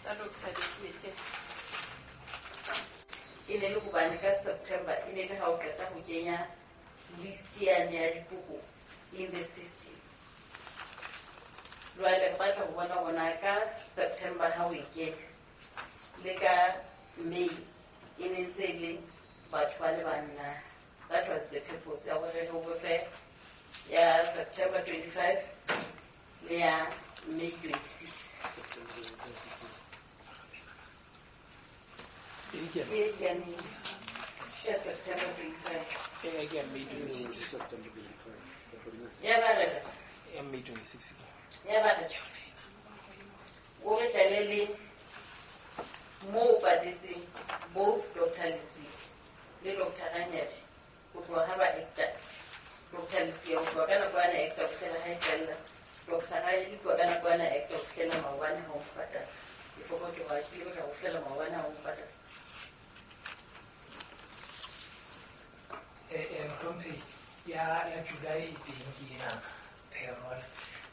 Tsa Doctor Letsie. E ne le hobane ka September e ne le ha o qeta ho kenya list yane ya dikopo in the system. Jwale re batla ho bona hore na ka September ha o e kenya le ka May e ne ntse e le batho ba le bang na. That was the purpose ya hore re o fe ya September 25 le ya May 26. E ke ya May. Ya September 25. E ke ya May 26. Ya ba re. Ya May 26. Ya ba re. O re tlale le moo o patetseng both Doctor Letsie le Doctor Ranyadi ho tloha ha ba acta. Doctor Letsie ho tloha ka nako ya na acta ho fihlela ha e fella. Doctor Ranyadi ho tloha ka nako ya na acta ho fihlela maobane ha o mo patala. Ke forgot hore ke ile ho fihlela maobane ha o mo patala. Mohlomphehi, ya July e teng ke ena, Rona.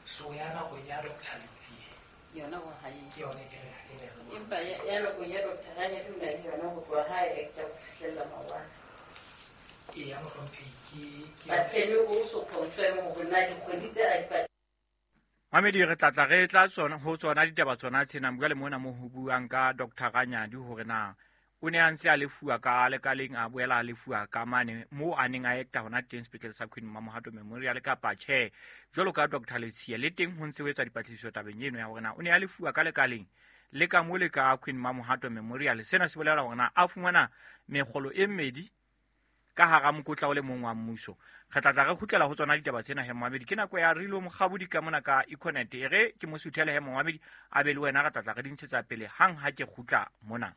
So ya nakong ya Doctor Letsie. Yona ho hae. Ke yone ke re ke ne re. Empa ya nakong ya Doctor Ranyadi o na le yona ho tloha ha e acta ho fihlela maobane. E ya mohlomphehi ke But can you also confirm hore na dikgwedi tse a di patala? Mamedi, re tla tla re tla tsona ho tsona ditaba tsona tsena jwale mona mo ho buang ka Doctor Ranyadi hore na o ne a ntse a lefuwa ka lekaleng, a boela a lefuwa ka mane moo a neng a acta hona teng sepetlele sa Queen Mamohato Memorial kapa tjhe. Jwalo ka Doctor Letsie le teng ho ntse ho etswa dipatlisiso tabeng eno ya hore na o ne a lefuwa ka lekaleng le ka mo le ka Queen Mamohato Memorial. Sena se bolela hore na a fumana mekgolo e mmedi ka hara mokotla o le mong wa mmuso. Re tla tla re kgutlela ho tsona ditaba tsena he Mohamedi. Ke nako ya Rilo Mokgabodi ka mona ka Econet. E re ke mo suthele he Mohamedi a be le wena, re tla tla re di ntshetsa pele hang ha ke kgutla mona.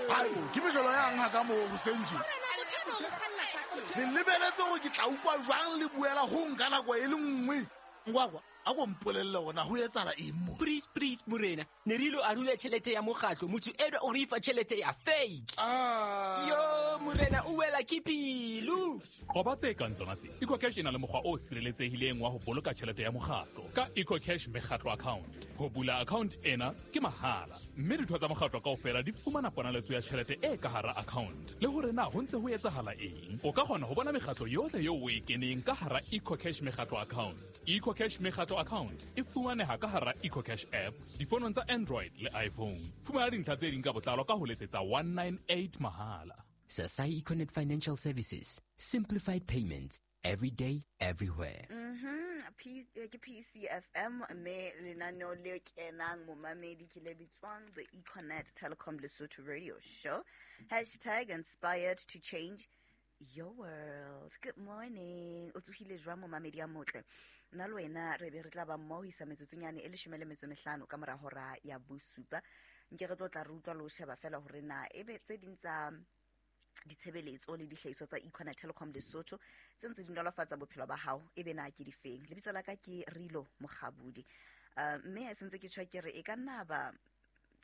Haebo, ke mejolo yang ha ka moo hoseng tje? Le lebeletse hore ke tla utlwa jwang le buela ho nka nako e le nngwe? Ngwakwa, a ko mpolelle hore na ho etsahala eng mo? Please, please, morena. Ne re ilo arula tjhelete ya mokgatlo. Motho enwa o re fa tjhelete ya fake. Yo, morena, o wela ke pelo. Qoba tse kang tsona tse. EcoCash e na le mokgwa o sireletsehileng wa ho boloka tjhelete ya mokgatlo ka EcoCash mekgatlo account. Ho bula account ena ke mahala, mme ditho tsa mokgatlo kaofela di fumana ponaletso ya tjhelete e ka hara account le hore na ho ntse ho etsahala eng. O ka kgona ho bona mekgatlo yohle eo o e keneng ka hara EcoCash mekgatlo account. EcoCash mekgatlo account e fumaneha ka hara EcoCash app difonong tsa Android le iPhone. Fumana dintlha tse ding ka botlalo ka ho letsetsa 198 mahala. Sasai Econet Financial Services, simplified payments every day, everywhere. Ke PCFM mme lenaneo le kenang momamedi ke le bitswang the Econet Telecom Lesotho Radio Show. Hashtag inspired to change your world. Good morning. O tsohile jwang momamedi ya motle? Nna le wena re be re tla ba mmoho ho isa metsotsonyane e 15 ka mora hora ya bosupa. Nke re tlo tla re utlwa le ho sheba fela hore na ebe tse ding tsa ditshebeletso le dihlahiswa tsa Econet Telecom Lesotho tse ntse di nolofatsa bophelo ba hao ebe na ke difeng. Lebitso la ka ke Rilo Mokgabudi. Mme ha sentse ke tjho ke re e ka nna ba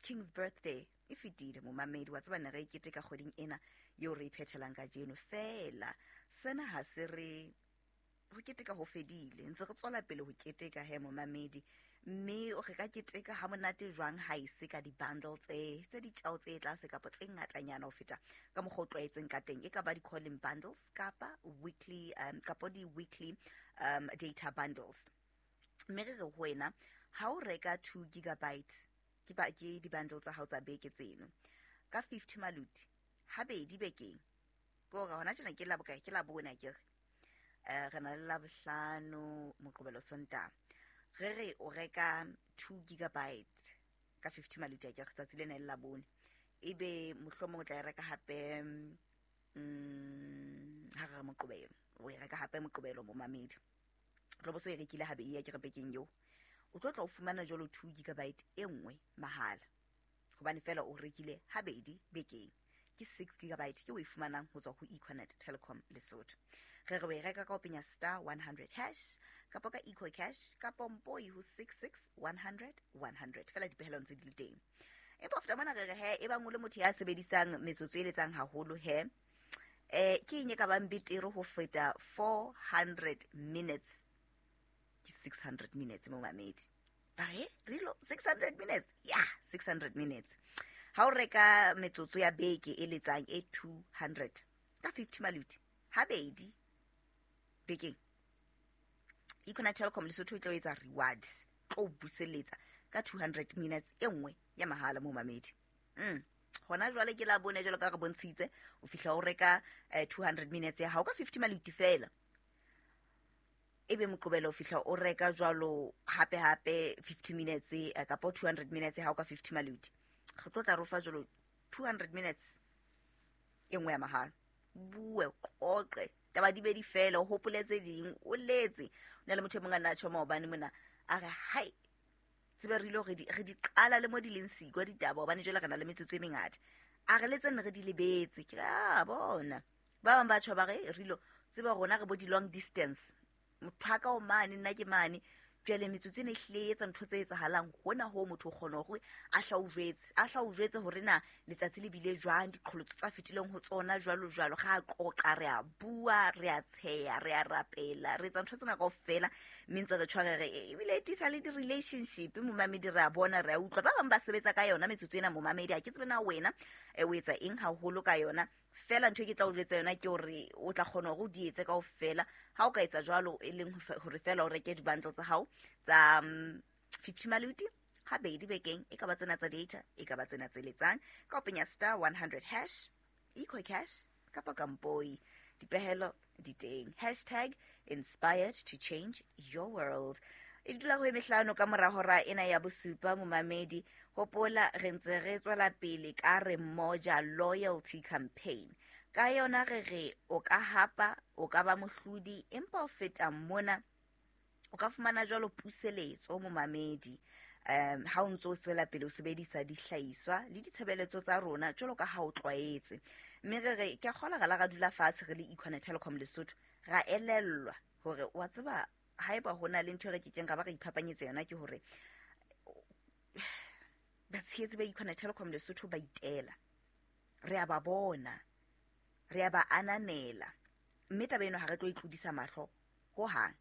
King's Birthday e fetile momamedi wa tseba ne re e keteka kgweding ena eo re iphethelang kajeno. Fela sena ha se re ho keteka ho fedile, ntse re tswela pele ho keteka he momamedi. Mme o re ka keteka ha monate jwang ha e se ka di-bundle tse ditjao tse tlase kapa tse ngatanyana ho feta ka mokgwa o tlwaetseng ka teng. E ka ba di-calling bundles kapa weekly, kapa di-weekly, data bundles. Mme re re ho wena ha o reka 2 gigabyte ke ba ke di-bundle tsa hao tsa beke tseno ka 50 maluti habedi bekeng, ke hore hona tjena ke la bokae? Ke la bone akere. Re na le Labohlano, Moqebelo, Sontaha. Re re o reka 2 gigabyte ka 50 maluti akere, tsatsi lena le labone. Ebe mohlomong o tla e reka hape, ha re re Moqebelo, o e reka hape Moqebelo momamedi. O tlo bo so e rekile habedi akere bekeng eo. O tlo tla o fumana jwalo 2 gigabyte e nngwe mahala, hobane fela o rekile habedi bekeng. Ke 6 gigabyte ke o e fumanang ho tswa ho Econet Telecom Lesotho. Re re o e reka ka ho penya star 100 hash kapa ka EcoCash kapa mpoi ho 66 100 100. Fela dipehelo ntse di le teng. Empa ho feta mona re re he, e bang o le motho ya sebedisang metsotso e letsang haholo he, ke eng e ka bang betere ho feta 400 minutes? Ke ke 600 minutes momamedi. Ba re rilo 600 minutes, ya 600 minutes. Ha o reka metsotso ya beke e letsang e 200 ka 50 maluti habedi bekeng, Econet Telkom Lesotho e tlo etsa reward, tlo buseletsa ka 200 minutes e nngwe ya mahala momamedi. Hona jwale ke la bone jwalo ka re bontshitse, o fihla o reka 200 minutes ya hao ka 50 maluti fela. Ebe Moqobelo o fihla o reka jwalo hape hape 50 minutes kapa 200 minutes ya hao ka 50 maluti. Re tlo tla rofa jwalo 200 minutes e nngwe ya mahala. Bue qoqe taba di be di fela, o hopole tse ding, o letse. O na le motho e mong a nna tjho maobane mona a re hai tsebe re ile re di qala le mo di leng siko ditaba, hobane jwale re na le metsotso e mengata. A re letse nne re di lebetse. Ke a bona ba bang ba tjho ba re rilo tsebe rona re bo di long distance, motho a ka o mane nna ke mane. Jwale metsotso ena e hlile e etsa ntho tse etsahalang hona ho motho o kgona hore a hla o jwetse hore na letsatsi le bile jwang, diqholotso tsa fetileng ho tsona jwalo jwalo. Ga a qoqa, re a bua, re a tsheya, re a rapela, re etsa ntho tsena kaofela, mme ntse re tshware re ebile e tiisa le di-relationship momamedi. Re a bona, re a utlwa ba bang ba sebetsa ka yona metsotso ena momamedi. Ha ke tsebe na wena o etsa eng haholo ka yona. Fela ntho e ke tla o jwetsa yona ke hore o tla kgona hore o di etse kaofela. Ha o ka etsa jwalo, e leng hore fela o reke di-bundle tsa hao tsa 50 maluti habedi bekeng, e ka ba tsena tsa data, e ka ba tsena tse letsang, ka o penya star 100 hash, EcoCash kapa Kampoi. Dipehelo di teng. Hashtag inspired to change your world. E dula ho e mehlano ka mora hora ena ya bosupa momamedi. Hopola re ntse re tswela pele ka re Moja loyalty campaign. Ka yona re re o ka hapa, o ka ba mohlodi, empa o feta mona o ka fumana jwalo puseletso momamedi. Ha o ntso o tswela pele o sebedisa dihlahiswa le ditshebeletso tsa rona jwalo ka ha o tlwaetse. Mme re re ke a kgola re la ra dula fatshe re le Econet Telkom Lesotho, ra elellwa hore wa tseba haeba hona le ntho e re kekeng ra ba re iphapanyetse yona, ke hore batshehetsi ba Econet Telkom Lesotho ba itela. Re a ba bona, re a ba ananela, mme taba eno ha re tlo e tlodisa mahlo hohang.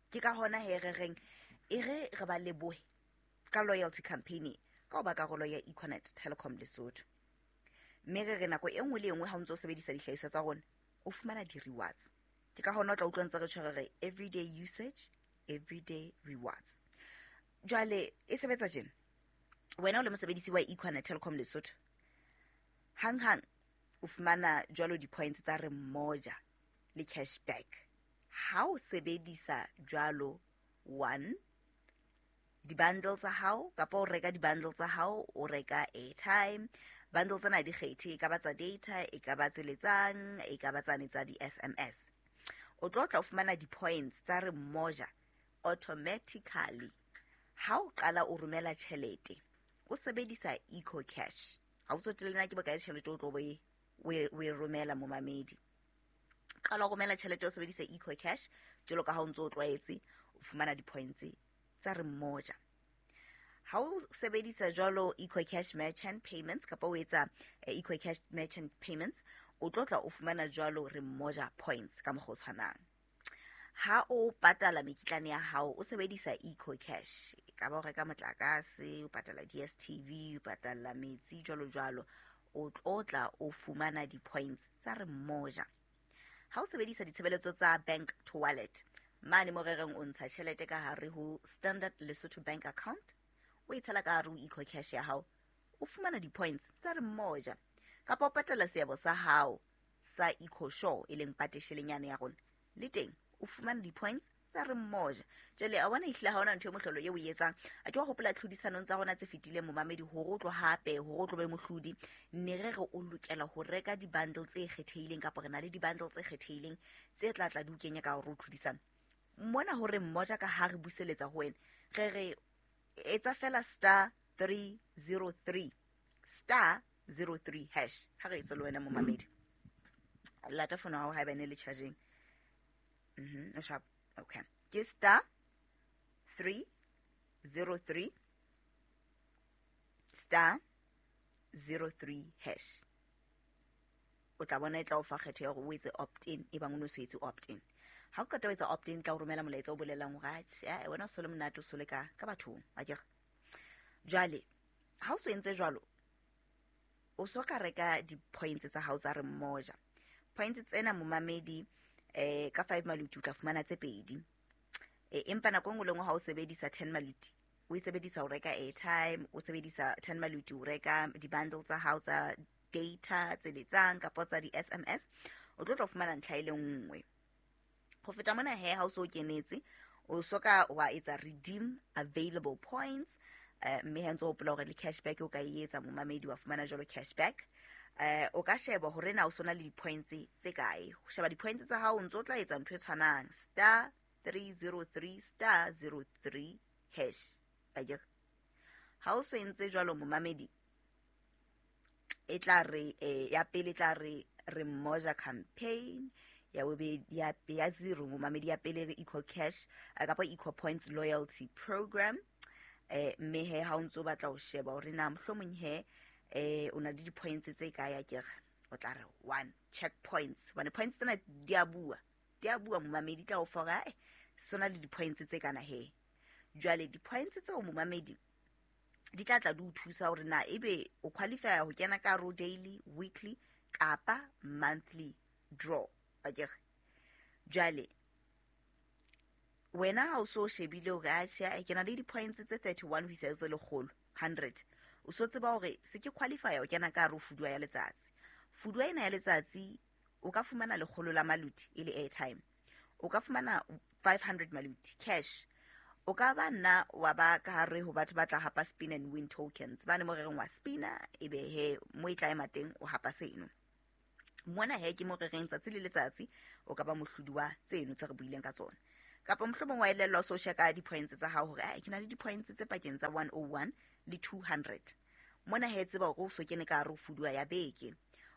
Ke ka hona he re reng e re re ba lebohe ka loyalty campaign ka ho ba karolo ya Econet Telkom Lesotho. Mme re re nako e nngwe le e nngwe ha o ntso o sebedisa dihlahiswa tsa rona, o fumana di-rewards. Ke ka hona o tla utlwa ntse re tshwere re everyday usage, everyday rewards. Jwale e sebetsa tjena. Wena o le mosebedisi wa Econet Telkom Lesotho, hang-hang o fumana jwalo di-points tsa re Moja le cashback. Ha o sebedisa jwalo one di-bundle tsa hao, kapa o reka di-bundle tsa hao, o reka airtime. Bundle tsena di kgethe, e ka ba tsa data, e ka ba tse letsang, e ka ba tsane tsa di-SMS. O tlo tla o fumana di-points tsa re Moja automatically ha o qala o romela tjhelete o sebedisa EcoCash. Ha o tsotelle na ke bokae tjhelete o tlo bo o e romela momamedi. Qala o romela tjhelete o sebedisa EcoCash jwalo ka ha o ntso o tlwaetse, o fumana di-points tsa re Moja. Ha o sebedisa jwalo EcoCash merchant payments kapa o etsa EcoCash merchant payments, o tlo tla o fumana jwalo re Moja points ka mokgwa o tshwanang. Ha o patala mekitlane ya hao o sebedisa EcoCash, e ka ba o reka motlakase, o patala DStv, o patala metsi jwalo jwalo, o tlo tla o fumana di-points tsa re Moja. Ha o sebedisa ditshebeletso tsa bank to wallet, mane mo re reng o ntsha tjhelete ka hare ho Standard Lesotho bank account, o e tshela ka hare ho EcoCash ya hao, o fumana di-points tsa re Moja. Kapa o patala seabo sa hao sa EcoSure, e leng pateshelenyane ya rona, le teng o fumana di-points tsa re Moja. Jwale a bona ehlile ha hona ntho e mohlolo eo o e etsang. A ke wa hopola tlhodisanong tsa rona tse fetileng momamedi, hore o tlo hape, hore o tlo be mohlodi, ne re re o lokela ho reka di-bundle tse kgethehileng, kapa re na le di-bundle tse kgethehileng tse tla tla di o kenya ka hore o tlhodisano. Mona hore Moja ka ha re buseletsa ho wena, re re etsa fela star 303 star 03 hash. Ha re etse le wena momamedi, lata fono hao haeba e ne le charging. O sharp. Okay. Ke star 303 star 03 hash. O tla bona e tla o fa kgetho ya hore o etse opt in, e bang o no se etse opt in. Ha o qeta ho etsa opt in, tla o romela molaetsa o bolelang hore atjhe, wena o so le monate, o so le ka bathong, akere. Jwale ha o so entse jwalo, o so ka reka di-points tsa hao tsa re mmoja. Points tsena momamedi, ka 5 maluti o tla fumana tse 2. Empa nako e nngwe le nngwe ha o sebedisa 10 maluti, o e sebedisa ho reka airtime, o sebedisa 10 maluti ho reka di-bundle tsa hao tsa data tse letsang kapa tsa di-SMS, o tlo fumana ntlha e le nngwe. Ho feta mona he, ha o so kenetse, o so ka wa etsa redeem available points, mme ha ntse o hopola hore le cashback o ka e etsa momamedi, wa fumana jwalo cashback. O ka sheba hore na o sona le di-points tse kae. Ho sheba di-points tsa hao, o ntso tla etsa ntho e tshwanang, star 303 star 03 hash. Akere ha o so entse jwalo momamedi, e tla re ya pele tla re re mmoja campaign, ya bobedi ya zero momamedi, ya pele re Eco Cash kapa Eco Points Loyalty Program. Mme he ha o ntso batla ho sheba hore na mohlomong he o na le di-points tse kae, akere o tla re 1 check points, hobane points tsena di a bua momamedi, tla o fa hore sona le di-points tse kana he. Jwale di-points tseo momamedi di tla tla di o thusa hore na ebe o qualify ho kena ka ro daily, weekly kapa monthly draw, akere. Jwale wena ha o so shebile hore atjhe, ke na le di-points tse 31 ho isa tse lekgolo 100, o so tseba hore se ke qualify ho kena ka ro fuduwa ya letsatsi. Fuduwa ena ya letsatsi o ka fumana 100 la maluti e le airtime, o ka fumana 500 maluti cash, o ka ba nna wa ba ka hare ho batho ba tla hapa spin and win tokens, bane mo reng wa spina ebe he mo e tla ema teng o hapa seno. Mona he ke mo reng tsatsi le letsatsi o ka ba mohlodi wa tseno tse re buileng ka tsona. Kapa mohlomong wa elellwa o so sheka di-points tsa hao hore ke na le di-points tse pakeng tsa 101 le 200. Mona he tseba hore o so kene ka hare ho fuduwa ya beke.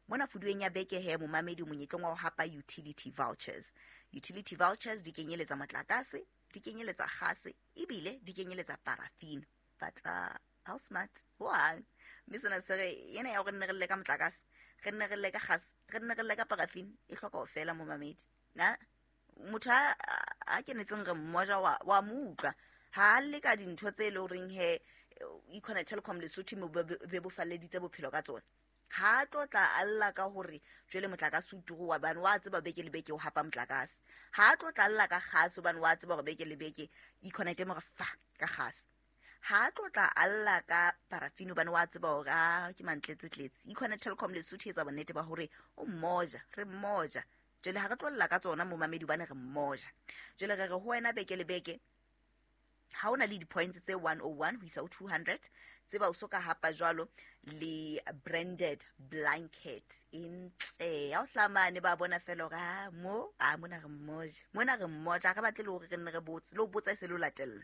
Mona fuduweng ya beke he momamedi monyetleng wa ho hapa utility vouchers. Utility vouchers di kenyeletsa motlakase, di kenyeletsa kgase, ebile di kenyeletsa paraffin. But how smart hoang. Mme sena se re yena ya hore nne re lle ka motlakase, re nne re lle ka kgase, re nne re lle ka paraffin, e hloka ho fela momamedi. Na motho a kenetseng re mmoja wa mo utlwa ha le ka dintho tse le horeng he Econet Telecom Lesotho mo bebofalleditse bophelo ka tsona. Ha tlo tla alla ka hore jwale motlakase o turu wa bane wa tseba beke le beke o hapa motlakase. Ha tlo tla alla ka kgase hobane wa tseba hore beke le beke Econet mo re fa ka kgase. Ha tlo tla alla ka paraffin hobane wa tseba hore ke mantletse tletse. Econet Telecom Lesotho etsa bonnete ba hore o mmoja, re mmoja. Jwale ha re tlo lla ka tsona momamedi hobane re mmoja. Jwale re re ho wena beke le beke ha ona le di-points tse 101 ho isa ho 200, tseba o so ka hapa jwalo le branded blanket e ntle. Ha o hlamane ba bona fela hore mo mona re mmoja, mona re mmoja, re batle le hore re nne re botse le ho botsa e se le ho latella.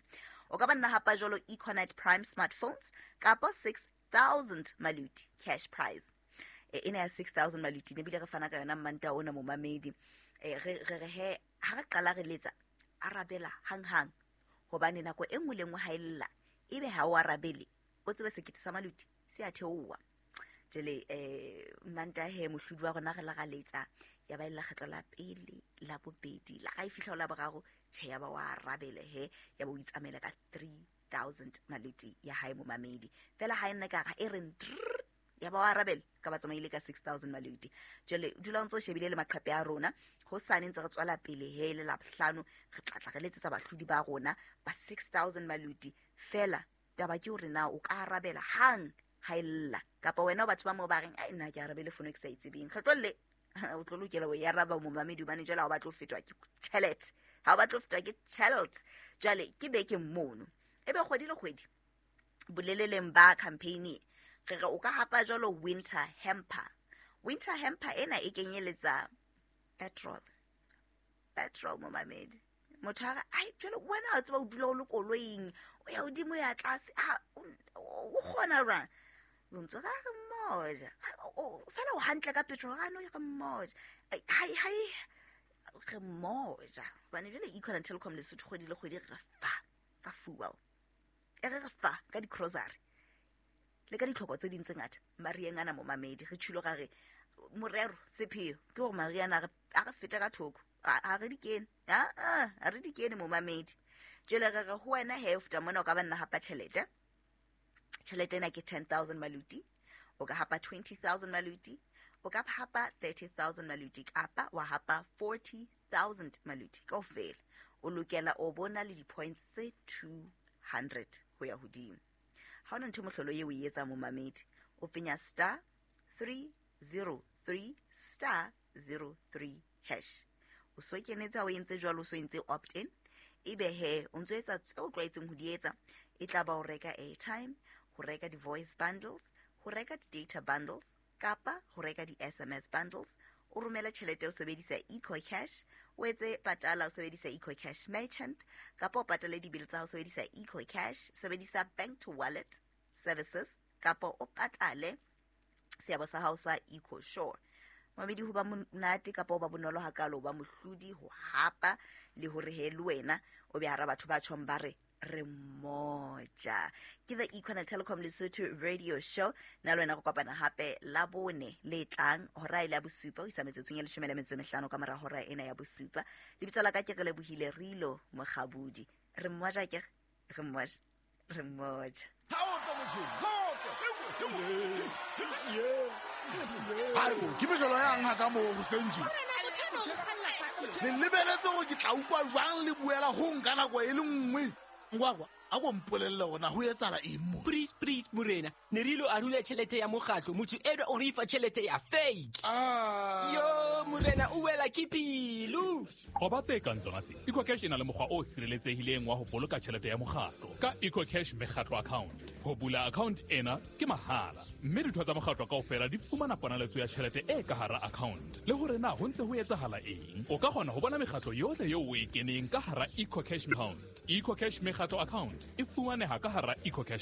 O ka ba nna hapa jwalo Econet Prime smartphones kapa 6000 maluti cash prize. Ena ya 6000 maluti ne bile re fana ka yona mmanta ona momamedi. Re re he ha re qala re letsa arabela hang-hang, hobane nako e nngwe le nngwe ha e lla ebe ha o arabele, o tsebe sekete sa maluti se a theoha. Jwale mmanta he mohlodi wa rona re la ra letsa ya ba e lekgetlo la pele, la bobedi, la ga e fihla ho la boraro, tjhe ya ba wa arabele he, ya ba o itsamaela ka 3000 maluti ya hae momamedi. Fela ha e nna ka e reng ya ba wa arabele ka ba tsamaile ka 6000 maluti. Jwale dula o ntso shebile le maqhepe a rona, ho sane ntse re tswela pele he le la bohlano re tla re letsetsa bahlodi ba rona ba 6000 maluti. Fela taba ke hore na o ka arabela hang ha e lla, kapa wena o batho ba mo ba reng ai nna ke arabele fono ke sa itsebeng. Re tlolle o tlo lokela ho e araba momamedi hobane jwale ha o batle ho fetwa ke tjhelete, ha o batle ho fetwa ke tjhelete. Jwale ke beke mono ebe kgwedi le kgwedi boleleleng ba campaign re re o ka hapa jwalo winter hamper. Winter hamper ena e kenyeletsa petrol momamedi. Motho a re ai jwale wena o tseba o dula o le koloing, o ya hodimo ya tlase, o kgona jwang? O ntso re mmoja fela o hantle ka petrol, a no re mmoja hai re mmoja hobane jwale Econet Telecom Lesotho kgwedi le kgwedi re fa ka fuel, e re fa ka di-grocery le ka ditlhoko tse ding tse ngata. Marieng ana momamedi re tshilo ra re morero sepheo ke hore Mariana a re feta ka thoko, Ha re di kene, aa ha re di kene momamedi. Jwale re re ho wena he, o feta mona o ka ba nna hapa tjhelete. Tjhelete ena ke 10,000 maluti, o ka hapa 20,000 maluti, o ka hapa 30,000 maluti, kapa wa hapa 40,000 maluti kaofela. O lokela o bona le di-points tse 200 ho ya hodimo. Ha hona ntho mohlolo eo o e etsang momamedi, o penya star 303 star 03 hash. O so kenetse, ha o entse jwalo, o so entse opt in, ebe he o ntso etsa tseo o tlwaetseng ho di etsa. E tla ba ho reka airtime, ho reka di-voice bundles, ho reka di-data bundles, kapa ho reka di-SMS bundles. O romele tjhelete o sebedisa EcoCash, o etse patala o sebedisa EcoCash merchant, kapa o patale di-bill tsa hao sebedisa EcoCash, sebedisa bank to wallet services, kapa o patale seabo sa hao sa EcoSure. Mamedi, ho ba monate kapa ho ba bonolo hakalo ho ba mohlodi, ho hapa le hore he le wena o be hara batho ba tjhong ba re re moja. Ke the Econet Telecom Lesotho radio show. Nna le wena go kopana hape la bone le tlang hora e le ya bosupa ho isa metsotsong e 15 ka mora hora ena ya bosupa. Lebitso la ka ke Relebohile Rilo Mokgabudi. Re mmoja ke re mmoja, re mmoja. Haibo, ke mejolo yang ha ka moo hoseng tje? Le lebeletse hore ke tla utlwa jwang le buela ho nka nako e le nngwe? Ngwakwa, a ko mpolelle hore na ho etsahala eng mo? Please, please, morena, ne re ilo arula tjhelete ya mokgatlo, motho enwa o re fa tjhelete ya fake. Yo, morena, o wela ke pelo. Qoba tse kang tsona tse. EcoCash e na le mokgwa o sireletsehileng wa ho boloka tjhelete ya mokgatlo ka EcoCash mekgatlo account. Ho bula account ena ke mahala, mme ditho tsa mokgatlo kaofela di fumana ponaletso ya tjhelete e ka hara account, le hore na ho ntse ho etsahala eng. O ka kgona ho bona mekgatlo yohle eo o e keneng ka hara EcoCash account. EcoCash mekgatlo account e fumaneha ka hara EcoCash.